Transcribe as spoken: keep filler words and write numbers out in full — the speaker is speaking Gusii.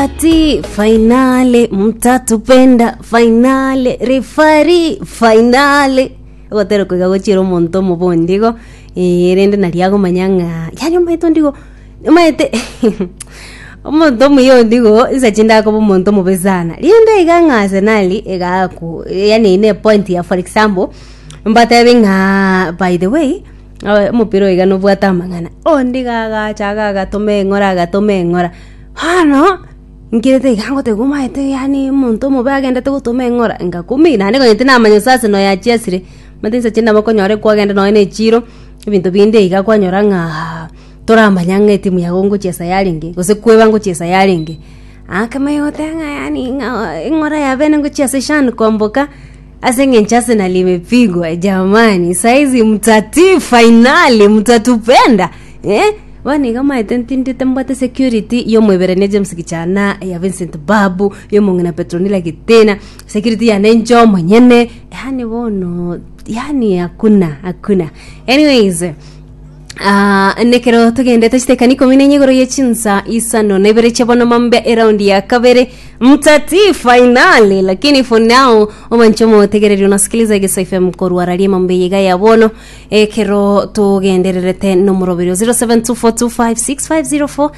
Ati finale mtatupenda, finale referee, finale ogotera koiga gochira omonto omobondi igo, eh, rende nari agomanya ng'a yaani omanyete ondigo omanyete omonto omuya ondigo inse chinde akoba omonto omobe sana. Rinde iga ng'a Arsenal egaku yaani ne epoint ya, for example, mbatebi ng'aa by the way, omopira oyo iga nobwate amang'ana, ondigo agacha iga agatoma eng'ora agatoma eng'ora, bono nkirete iga ngotebiwa omanyete yaani omonto omobe agendete gotoma eng'ora, ngakumia naende konya tinamanya gose Arsenal yachiesire, omanyete inse chinde nabo okonyora kwagenda nonye na echiro, ebinto binde iga kwanyora ng'aa toramanya ng'a etimu yago ngochiesa yarenge, gose kweba ngochiesa yarenge. Akamanya goteba ng'a yaani ng'a eng'ora yabene ngochiesa Shan Kwamboka, ase eng'encho Arsenal imepigwa jamani, saizi mtatii finali mtatupenda, eh? Bono iga omanyete ntindete mbwate security ya omoiberania James Gichana, ya Vincent Babu, ya omong'ina Petronila Gitena, security yane inche omonyene, yaani bono yaani hakuna hakuna. Anyways, Ah, nekero togendete chitekani ikomi na enye igoro ye chinsa isano na ibere chia bono mambe eraundi ya kabere mtatii finali, lakini for now omanche omotegereri unasikiliza Egesa F M korwa raria mambe iga ya bono ekero togendererete nomoroberio zero seven two four two five six five zero four.